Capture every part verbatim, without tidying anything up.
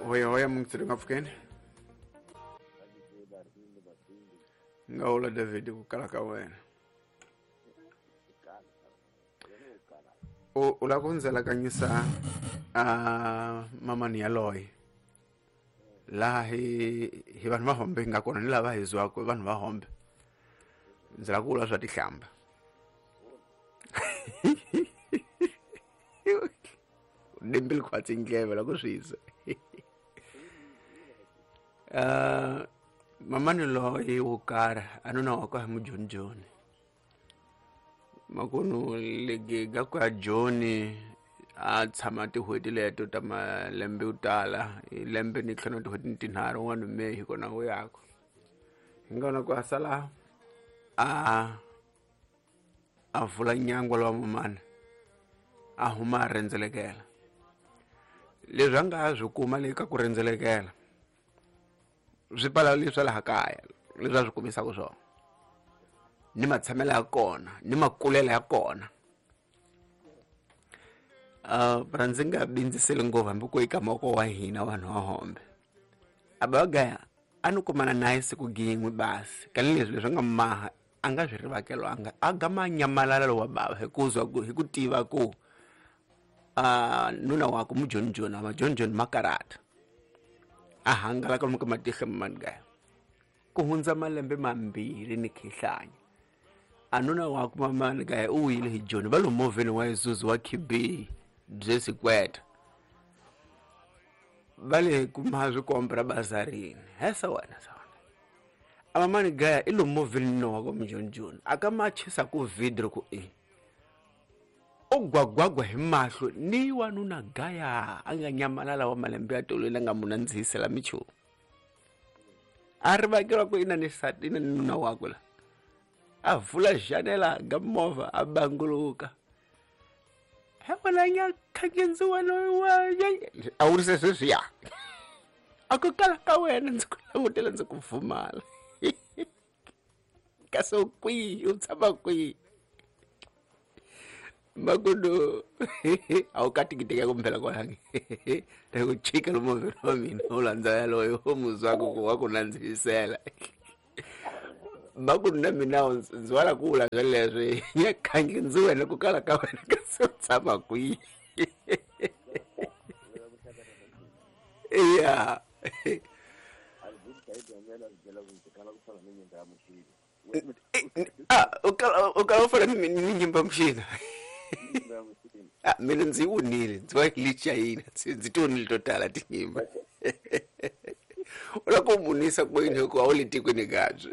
Hoya hoya mungitsiri ngapfukeni. Ngaula David ku kala ka wena. O u lava ku ndzela kanyisa a mamani yaloye. Laha hi hi vanhu va hombe hi nga kona ni lava hi zwaka vanhu va hombe. Ndzi lava ku vula swa tihlamba. Dimbili khwatsi ndleve la ku swi twa. Uh, mamani loyi wo karhi a nuna wa ka hi mujonijoni. Makunu lege ga ku ya Joni a tshama tin'hweti leto ta malembe yo tala hi lembe ni ntlhanu tin'hweti ni tinharhu un'wana May hi kona u yaka. Hi nga vona ku a sala a a vula nyangwa lowa mamani a huma a rhendzelekela. Leswi a nga swi kuma le ka ku rhendzelekela swi pala leswi laha kaya leswi a swi kumisaka swona ni matshamelo ya kona ni makulelo ya kona. Uh, ra ndzi nga bindziseli ngopfu hambi ku eka mavoko wa hina vanhu va hombe. A ba gaya a ni kumana naye siku gin'we basi kani leswi leswi nga maha a nga swi rivakelwanga a gama nyamalala lowa bava hi ku zwa ku hi ku tiva ku a nuna wa ku mujonijoni a majonijoni makarata a hangalaka lomu ka matihlo mamani gaya ku hundza malembe mambirhi ni khihlanya. A nuna wa ku mamani gaya u wile hi Joni va lo movheni wa Isuzu wa K B bye sikweta va le kuma swikombra bazarini hesa wena sa wena a mamani gaya i lo movheni no wa ku mujonijoni a ka machisa ku vidro ku e u gwagwagwa hi mahlo ni wanuna gaya a nga nyamalala wa malembe ya tolo la nga mu nandzihisela michumu a rivakelwa ku ina ni sati ina ni nuna wakwe la a vula janela ga movha a banguluka he wena nya khangenzi wena wa a wurise sweswiya a ku kala ka wena ndzi ku langutela ndzi ku pfumala kasi u kwihi u tshama kwihi makudu a wu katikiteka kumphela kwalangi ta ku chika lomu movheni wa mina u landza yaloyo u muzwaku ku wa ku nandzihisela. Makudu na mina ndzi wala ku vula sweleswo nya khangi ndzi wena ku kala ka wena kasi u tshama kwihi. Ya ah u kala u kala u fana ni ni nyimba muxina. Ah mina ndzi wunile ndzi va lichayina ndzi tionile to tala tinyimba. U lava ku munisa kwini hikuva a wu le tikweni kabye.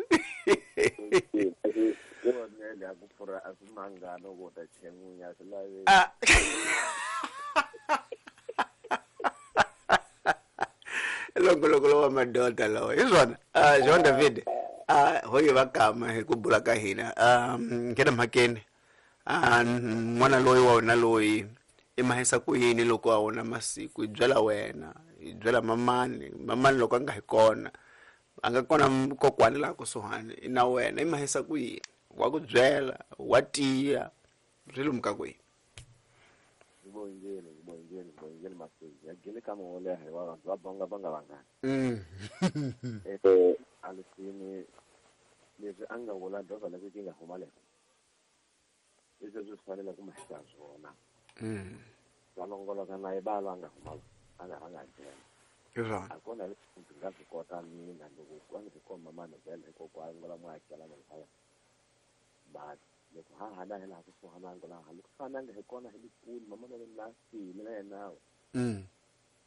Ah longoloko lowa madoda lawa hi swona. Ah Jean David ah hoyi va kama hi ku bula ka hina um nghena mhakeni. Ah n'wana loyi wa wena loyi i mahisa ku yini loko a wona masiku i byela wena i byela mamani mamani loko a nga hi kona a nga kona kokwani laha kusuhani i na wena i mahisa ku yini wa ku byela wa tiya swi lomu ka kwihi. Ngibongile ngibongile ngibongile Masezi ya gele ka mo leha hi wa vanhu va bonga va nga vangani. Mm. Eh alisini leswi a nga vula dovha la ku nga huma le leswi swi fanele ku mahisa swona. Mm. Va longoloka na yi va nga huma a nga rhanga byela. Hi swona. A kona leswi ndzi nga swi kota mina loko ku nga komba mani vhele hikokwalaho ngola muakelani laya. But loko ha hana hi laha kusuhana ngola ha loko fananga hi kona hi likulu mama na la file na yena. Mm.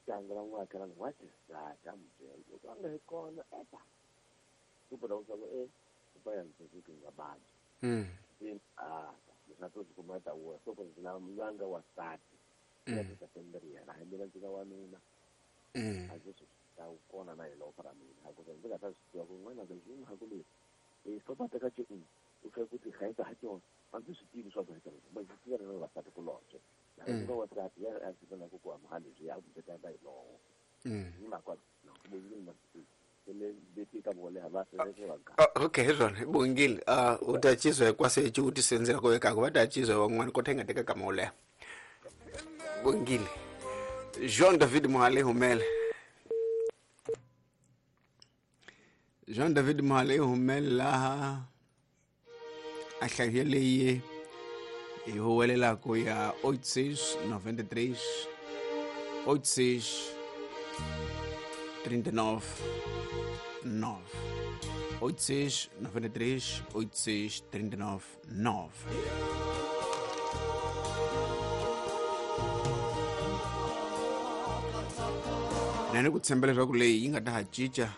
Ngola muakelani wa tisata mbyela loko a nga hi kona eta. Ku bola ku e ku ba ya ndzi ku nga badi. Mm. Ah leswi to kuma ta wo so ku na mlanga wa sati. Ya ta tendria na mina ndzi nga wanuna. Mm. A ndzi swi ta kona na hi loko ra mina ku ndzi nga ta swi tiva ku n'wana ndzi n'wi ha ku le e so ba teka tše u fika ku ti hlayisa ha tona a ndzi swi tivi swa ku heta ma ndzi tiva na vasati kulobye na ndzi wa sati ya a ndzi na ku ku amhali byi ya ku ta ta hi lowo. Mm. Ni ma kwa no ku yini ma le beti ka vole ha va se va ka. Okay hi swona bongile ah u ta chizwa hinkwaswo hi xivutiso ndzi ku vekaka va ta chizwa van'wana kota hi nga teka kama wo leha. Bongile Jean David Mohale humele. Jean David Mahale humela a hlaye leyi hi huwelelako ya oito seis nove três oito seis trinta e nove nove oito seis nove três oito seis trinta e nove nove. Na ni ku tshemba leswaku leyi yi nga ta ha cinca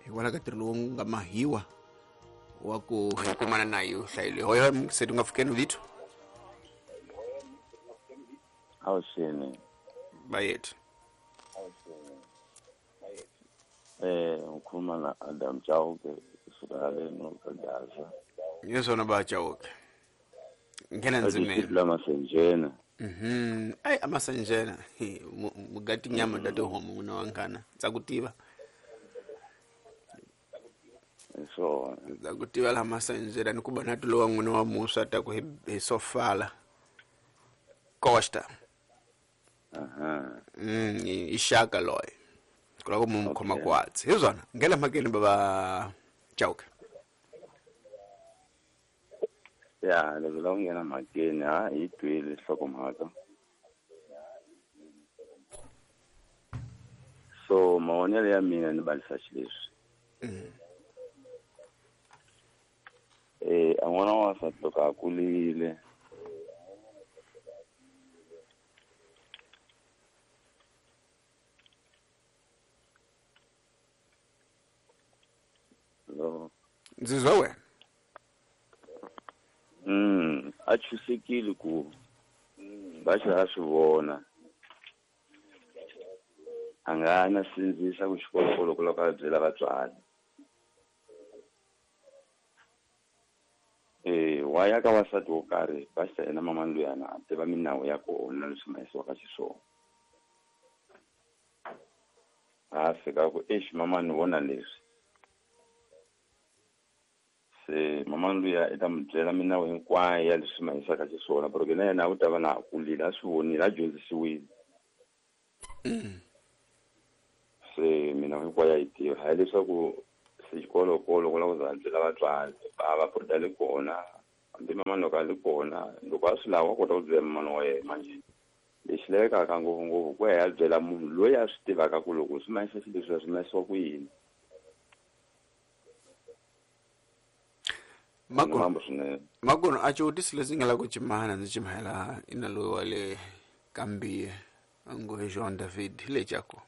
hikwalaho ka ntirho lowu nga mahiwa wa ku kumana na yo hlayile hoyo se nga fikeni vito awuxini bayethu eh ngikhuluma na Adam Chauke kusuka le Gaza. Yesona ba Chauke ngena nzimeni la masenjena. Mhm ay amasenjena mugati nyama date homo nguna wankana tsakutiva so tsakutiva la masenjena nikuba natulo wa nguna wa Musa ta ku hi sofala Costa. Aha mm ishaka loy kula ko mumkhoma kwatsi hizona ngela makeni baba Chauke. Ya le la ngena makeni ha hi twile hlokomhaka so maonelo ya mina ni balisa xileswi. Mm. Eh a n'wana wa nsati loko a kulile ndzi zwa wena mm a chusekile ku va xi a swi vona a nga na sindzisa ku xikolokolo ku loko a byela vatswari eh wa ya ka wasati wo karhi va xi yena mama luyana a tiva minawu ya kona leswi mahisiwaka xiswona a fika ku exi mama ni vona leswi se mama luya i ta mi byela minawu hinkwayo ya leswi mahisaka xiswona porque na yena u ta va na kulile a swi vonile a dyondzisiwile. Se minawu hinkwayo ya yi tiva hayi leswaku se xikolokolo ku lava ku za a byela vatswari bava buruda le kona hambi mama loko a le kona loko a swi lava wa kota ku byela mamana wa yena manjhe lexi lavekaka ngopfungopfu ku ya ya byela munhu loyi a swi tivaka ku loko swi mahisa xileswiya swi mahisiwa ku yini. Makono makono a xivutiso lexi nga la ku cimana ndzi cimahela ina loyi wa le Kambiye ngo hi Jean David hi lecaku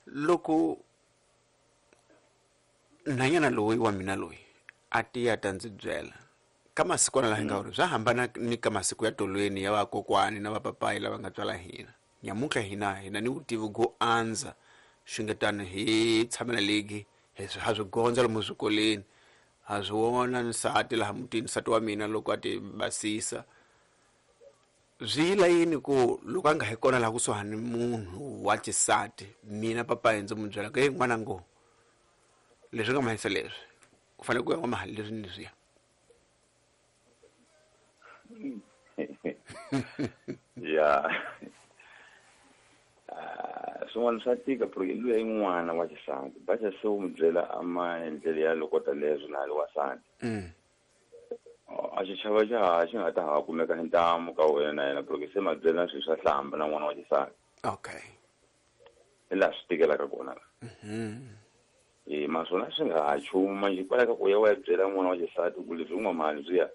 loko nhwanyana loyi wa mina loyi a tiya ta ndzi byela ka masikwana laha hi nga ri swa hambana ni ka masiku ya tolweni ya vakokwani na vapapayi lava nga tswala hina nyamuntlha hina hina ni vutivi go andza xingetano hi tshamela legi hi ha swi gondza lomu swikolweni ha swi vona nsati laha mutini nsati wa mina loko a ti basisa swi yila yini ku loko a nga hi kona laha kusuhani munhu wa xisati mina papayi ndzi n'wi byela ku hey n'wana ngo leswi nga mahisa leswi u fanele ku ya n'wa leswi ni leswiya. Ya swin'wana swa tika porque luya i n'wana wa xisati baxa se u mi byela a maendlelo ya lokota leswi na le wasati a xichava xa ha xi nga ta ha kumeka hi ntamu ka wena na yena porque se ma byela swilo swa hlamba na n'wana wa xisati. Okay hi laha swi tikelaka kona la e maswona swi nga ha chumu manjhe kwala ka ku ya wa ya byela n'wana wa xisati ku leswi u n'wa mali swiya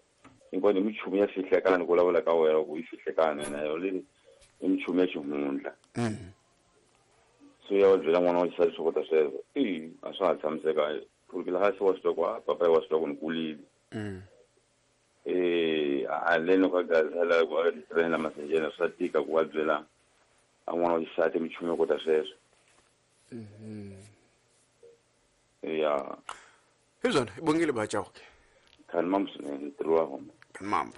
hinkwani i michumu ya fihlekani ku vulavula ka wena ku yi fihlekani na yo leyi i michumu ya xihundla. So ya wa byela n'wana wa xisati swo kota sweswo i a swa ha tshamiseka porque laha se wa swi tiva ku a papayi wa swi tiva ku ni kulile eh a leno ka Gaza la ku a tirhela masenjena swa tika ku wa byela a n'wana wa xisati michumu yo kota sweswo. Ya hizona ibongile ba Chauke khani mambo swinene ntirho wa hona khani mambo.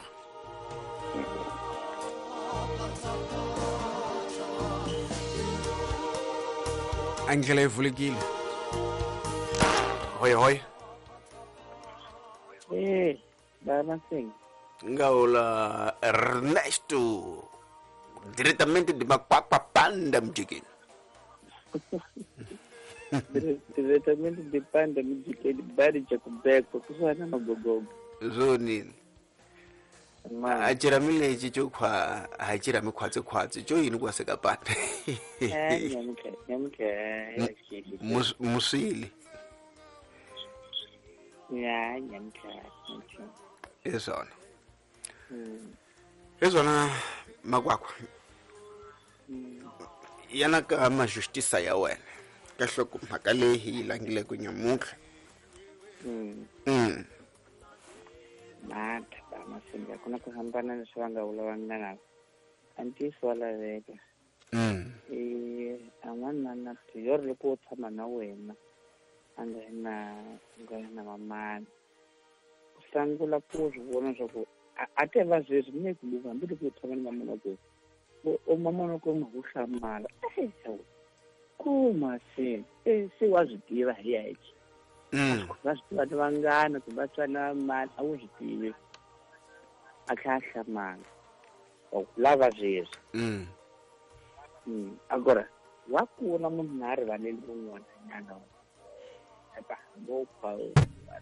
Andlela yi vulekile hoy hoy eh baba sing ngaula Ernesto diretamente de Makwakwa Panda mjikini. Diretamente de panda mujikeni bari cha kubekwa kusuhana magogogo. Zonini. A chirami lexi xo khwa a chirami khwatsi khwatsi xo yini ku seka panda. Eh nyamuke nyamuke Musili. Ya nyamuke. Hi swona. Mm. Hi swona Makwakwa. Mm. Yana ka majustice ya wena. Ka hloko mhaka leyi hi yi langile ku nyamutlha. Mm. Mm. Mata ba masinga kuna ku hambana leswi va nga vula vanghana. A ntiyiso wa laveka. Mm. Eh an'wana na yor loko u tshama na wena a nga na nga na mamani. U sungula ku swi vona swa ku a te va sweswi ni ku luva hambi loko u tshama ni mamana ku o mamana ku ma ku hlamala. Eh kuma se eh se wa swi tiva hi yexe. Mm. Va swi tiva ni vanghana kumbe va swi na mali a wu swi tivi. A tlhela a hlamala. Wa ku lava sweswi. Mm. Mm. Agora wa kula munhu na rivaleli rin'wana nyana. Epa ngopfu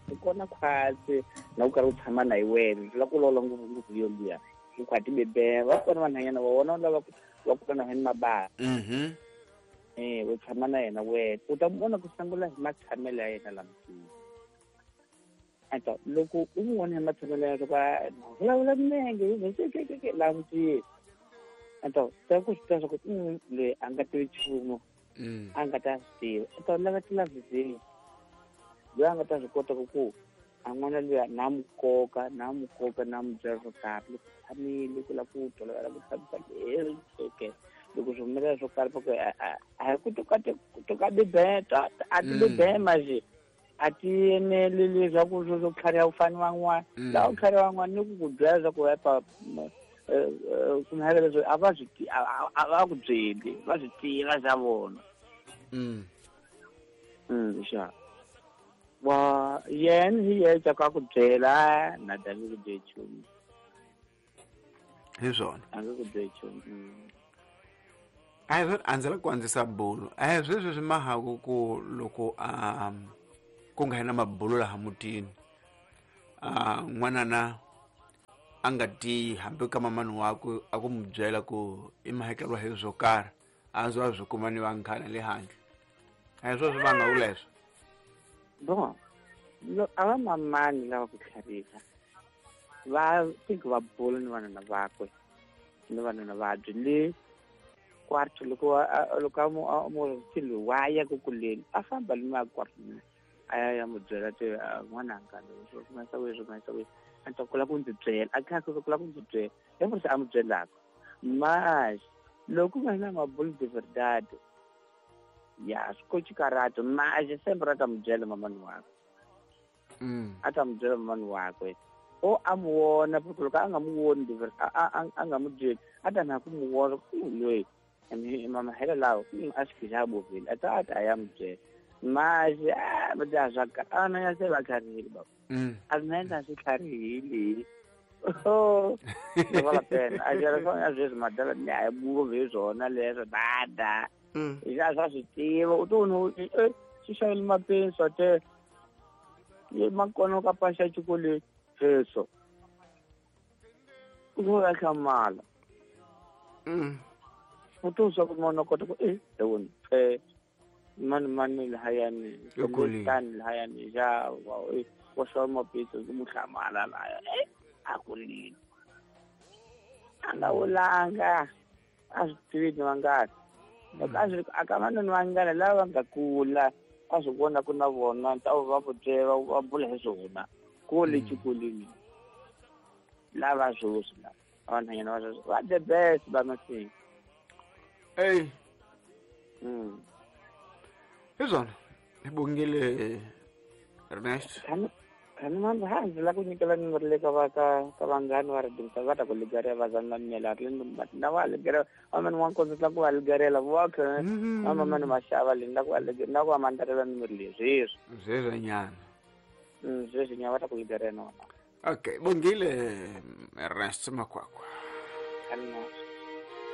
ti kona khwatsi na u karhi u tshama na hi wena la ku lola ngopfu ngopfu yo liya u khwati bebe va kona vanhanyana va vona lava va kula na hini mabala. Mhm. Eh u tshama na yena wena u ta vona ku sungula hi matshamelo ya yena lamtini. Ata loko u n'wi vona hi matshamelo ya yena va vulavula minenge hi lamtini. Ata ta ku swi tiva ku loyi a nga tivi nchumu. Mm. A nga ta swi tiva. U ta lava tilavizini. Loyi a nga ta swi kota ku ku a n'wana luya na n'wi koka na n'wi koka na n'wi byela swo karhi loko tshamile ku lava ku tolovela ku tshamisa leri okay loko swi humelela swo karhi ku a hi ku toka toka bibeta a ti bibema nje a ti eneli leswaku swo swo tlhariha ku fana van'wana laha u tlhariha van'wana ni ku ku byela leswaku epa kumhaka leswi a va swi a va ku byeli va swi tiva xa vona. Mm. Mm xa. Wa yena hi yexe ka ku byela na David ku byela nchumu. Hi swona. A nge ku byeli nchumu. Mm. A hi swona a ndzi la ku andzisa bulo. A hi sweswi swi mahaku ku loko a ku nga na mabulo laha mutini. A n'wana na a nga tiyi hambi ka mamani wakwe a ku n'wi byela ku i mahekeriwa hi swo karhi a ndzi wa swi kuma ni vanghana le handle. A hi swona swi vanga leswo. Bon, a va mamani lava ku tlhariha va think va bula ni vanhana vakwe ni vanhana vabyi le kwarto loko loko a mu a mu wa ya ku kuleni a famba ni ma kwarto a ya ya mu byela te n'wananga leswi swi ma sa weswi ma sa weswi a ta kula ku ndzi byela a kha ku kula ku ndzi byela hi se a mu byelaka mas loko nga na mabulu de verdade ya swi karate mas sempre a ta mu byela mamani wakwe. Mm. A ta mu byela mamani wakwe o a mu vona porque loko a nga mu voni a a nga mu byeli a ta na ku mu vona loyi mama hela lawo a swi xa bovile a ta a ta ya mu byela mas a va ta swa a na ya se va tlharihile baba. Mm. A na endla swi tlharihile. Oh ni va la pena a jela swa sweswi madala ni a buvo hi swona leswo dada. Mm. Xa swa swi tiva u to no eh xi xavele mapenso te ye makona ka pasha xikolweni sweswo u va hlamala. Mm. U to swa ku mona kota ku eh wona eh mani mani lahayani tani lahayani ja wa eh wa xava mapenso ku hlamala laya eh a kulile a nga vulanga a swi tivi ni vangani. Loko a swi a ka vanhu vanghana lava nga kula a swi vona ku na vona ta va va byela va bula hi swona kule xikolweni lava sweswi lava vanhanyana va sweswi va the best va masinga. Ey. Mm. Hi swona hi bongile Ernest. Khani mani ha ndzi lava ku nyikela nimero le ka va ka ka vanghani va ri va ta ku ligarela va zana mela ri na va ligarela va mani wa nkondzo la ku va ligarela va kha va mamani maxava le na ku va na ku va mandarela nimero leyi sweswi sweswi nyana. Mm sweswi nyana va ta ku ligarela na Okay, bongile Ernest Makwakwa. Khani